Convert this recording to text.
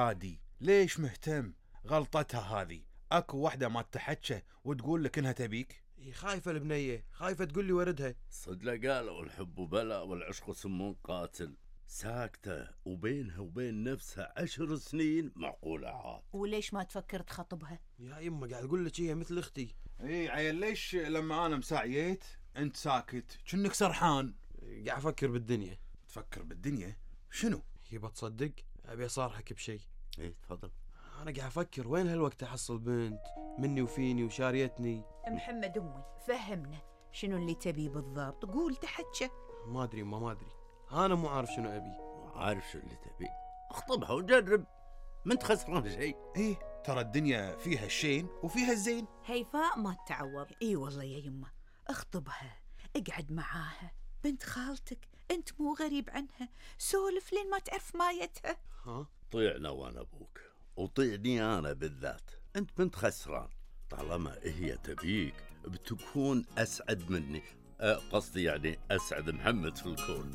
عادي، ليش مهتم؟ غلطتها هذه. اكو واحدة ما تحكى وتقول لك انها تبيك. خايفة البنية، خايفة تقول لي وردها. صدق قالوا الحب بلاء والعشق سم قاتل. ساكتة وبينها وبين نفسها 10 سنين، معقولة عاد؟ وليش ما تفكر تخطبها؟ يا يمه قاعد اقول لك هي مثل اختي. اي عيل، ليش لما انا مساعيت انت ساكت كأنك سرحان؟ قاعد افكر بالدنيا. تفكر بالدنيا؟ شنو؟ يبا تصدق ابي اصارحك بشيء. ايه تفضل. انا قاعد افكر وين هالوقت احصل بنت مني وفيني وشاريتني. محمد امي فهمنا شنو اللي تبي بالضبط، قول تحكى. ما ادري ما ادري، انا مو عارف شنو ابي. عارف شو اللي تبي؟ اخطبها وجرب، من خسران شيء. ايه ترى الدنيا فيها الشين وفيها الزين. هيفاء ما تعوض. اي والله يا يمه، اخطبها، اقعد معاها، بنت خالتك، انت مو غريب عنها، سولف لين ما تعرف مايتها. ها طيعنا وانا ابوك، وطيعني انا بالذات. انت بنت خسران، طالما هي تبيك بتكون اسعد مني. قصدي يعني اسعد محمد في الكون.